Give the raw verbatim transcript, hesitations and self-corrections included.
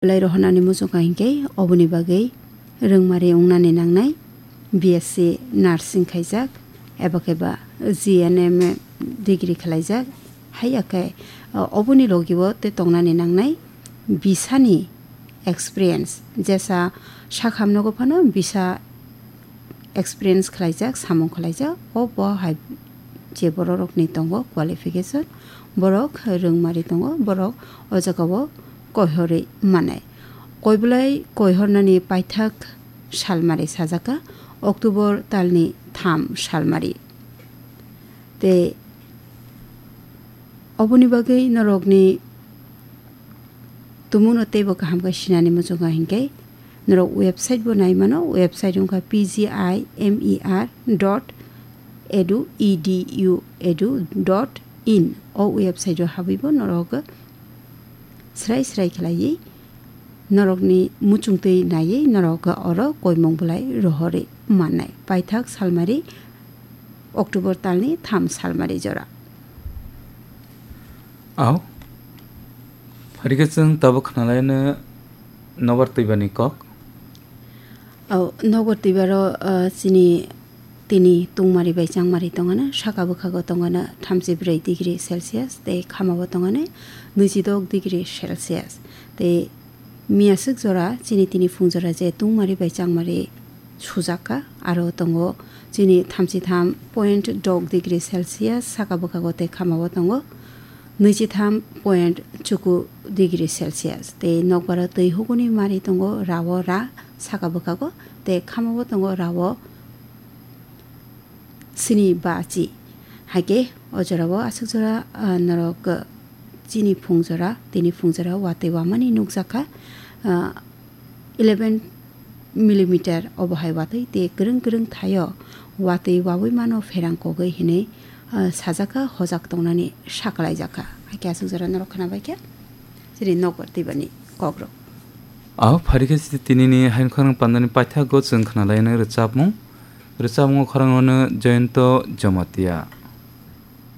Belai rohornani muchungkha hinkhe oboni bagwi rwngmari wngnani nangnai, B S C nursing khaijak, eba khe ba G N M degree khlaijak, haiya khe, o, oboni logi-o tei tongnani nangnai bisani experience, jesa sakham nogo phano bisa experience khlaijak, samung khlaijak, o bo hai je bororokni tongo qualification, borok rwngmari tongo, borok o jagao koihorwi manai. Koiblai koihornani paithak salmari sajaka, October talni tham salmari. Tei oboni bagwi norokni tumungno teibo kaham khe sinani muchungo hinkhe norok website bo nai mano, website wngkha P G I M E R dot edu, E D U edu dot in. O website o habwi bo norok srai srai khlaiwi norokni muchungtwi naiwi norok oro koimung belai rohorwi mannai. Paithak salmari October talni tham salmari jora. Au. Pharikhe chwng tabuk khnalaino nobar twibani kok. Au, nobar twibaro, ah, chini tini tungmari bai changmari tongano, saka bwkhago tongano thamchi brwi degree Celsius, tei khamao tongano nwichi dok degree Celsius. Tei miyaswk jora chini tini phung jora je tungmari bai changmari sujakha, aro tongo chini thamchi tham point dok degree Celsius, saka bwkhago tei khamao tongo nwichi tham point chuku degree Celsius. Tei nokbaro twi huguni mari tongo rao ra saka bwkhago, tei khamao tongo rao sini ba chi. Haikhe o jorao aswk jora, ah, norok, ah, chini phung jora, tini phung jora watwi wamani nukjakha, ah, eleven millimeter obo hai watwi, tei kwrwng kwrwng thaio watwi wawi mano pherang kogwi hinwi, ah, sajaka hojak tongnani sakhlaijakha. Haikhe aswk jora norok khnabaikha chini nokbar twibani kokrok. Au pharikhe chini tinini haino khorang pandani paithago chwng khnalaino rwchapmung. Rwchapmungo khorang hwnwi Jayanta Jamatia.